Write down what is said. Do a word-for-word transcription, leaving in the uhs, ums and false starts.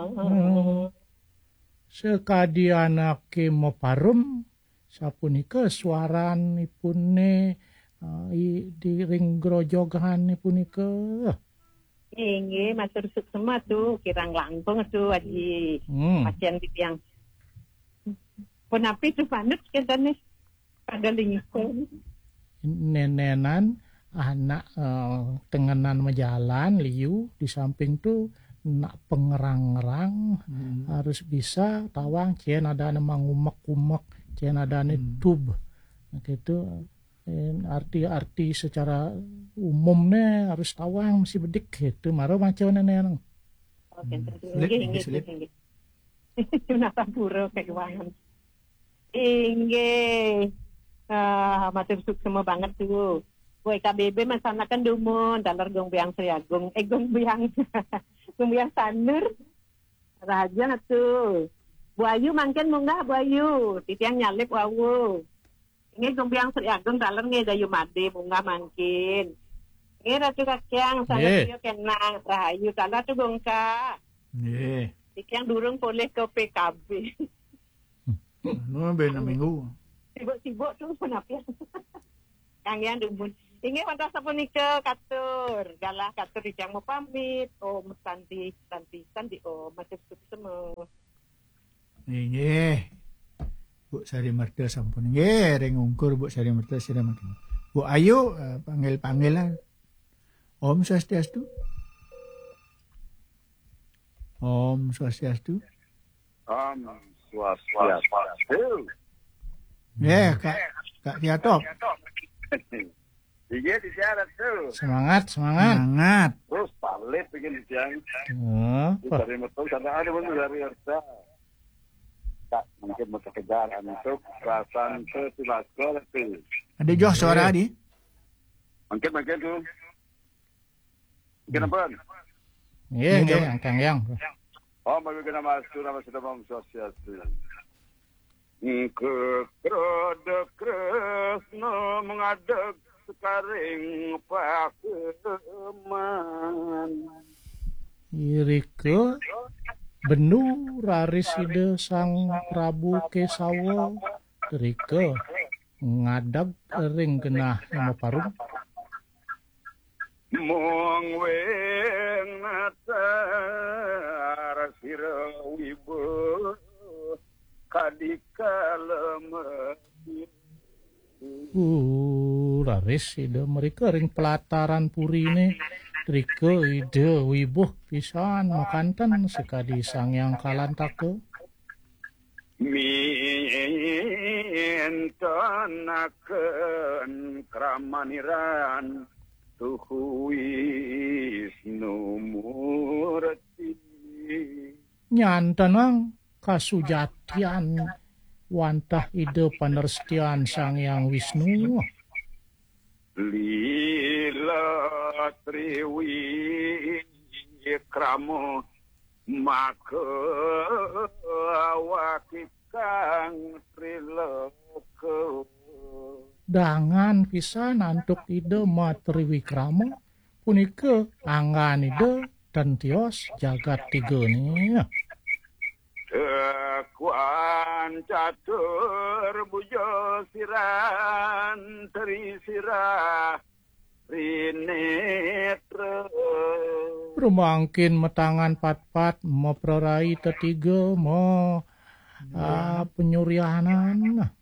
Heeh. Sakadi anaké maparum, sapunika suaranipuné, eh, i-, di ring grojogané punika. Inggih, matur suksma tu, kirang langkung tu, Aji. Hmm. Pacén titiang. Punapi tu manut kéntané pada lingkung. Nénénan anak, eh, tengenan majalan liu di samping tu nak pengerang-ngerang, hmm, harus bisa tawang cén adané mangumek-umek, cén adané, hmm, tub. Nah, gitu. Eh, arti-arti secara umumnya harus tawang mesti bedik gitu. Mara maca nénénan. Oke, hmm, sulit, inggih, inggih, inggih, sulit, inggih. Nata pura kéwanten. Inggih. Ah, matur suksma banget tu. Woi, K B B masanakan dumun, taler Gong Biang Sri Agung. Eh, Gong Biang. Gong Biang Sanur. Rahayu tu. Bu Ayu mangkin munggah, Bu Ayu. Titiang nyalip wau. Inggih, Gong Biang Sri Agung, taler nggih Dayu Madé munggah mangkin. Nggih, Ratu Kakyang, sanget, nggih, kénang. Rahayu, taler tu Gong Ka. Nggih. Titiang durung polih ke P K B. Anu, ben minggu. Sibuk-sibuk tu punapi. Kang Yang dumun. Inggih, wantah sapunika katur. Galah katur titiang mapamit. Om Santi, Santi, Santi Om. Matur suksma. Inggih. Bu Sari Merta sampun. Nggih, ring ungkur Bu Sari Merta sira mangkin. Bu Ayu, eh, panggil-panggilan. Om Swastiastu. Om Swastiastu. Om Swastiastu. Nggih, Kak, Kak Tiatop. Iya, di syarat tu. Semangat, semangat. Semangat. Terus palit bikin siang. Oh, wah. Dari metu sana ada pun dari harta. Tak mungkin mau sekedar untuk perasaan tu, tu lagu tu. Ada joh suara, iya, di? Mungkin, mungkin tu. Mungkin apa? Iya, iya, iya, Kang Yang. Oh, bagi kena masuk nama sudah Om Swastiastu. Engke kredek kresna mengadeg sekaring pakeman. Irika bendu raris Ida Sang Prabu Kesawa, irika ngadeg ring genah maparum. Mung wéntar sira wibuh kadi kala mati. Uh, raris Ida mrika ring pelataran puriné, rika Ida wibuh pisan makanten sakadi Sang Hyang Kalantaka. Mintenaken kramaniran tuhu Wisnu Murti. Nyantenang kasujatian wantah Ida panerestian Sang Hyang Wisnu. Lila triwikrama maka awakikang triloka. Dangan pisan antuk Ida matriwikrama, punika anggan Ida ten tios jagat tigané. Tekuan catur bujo siran tri sirah rinetra. Rumangkin matangan patpat maprarai tetiga ma, ah, penyurianan.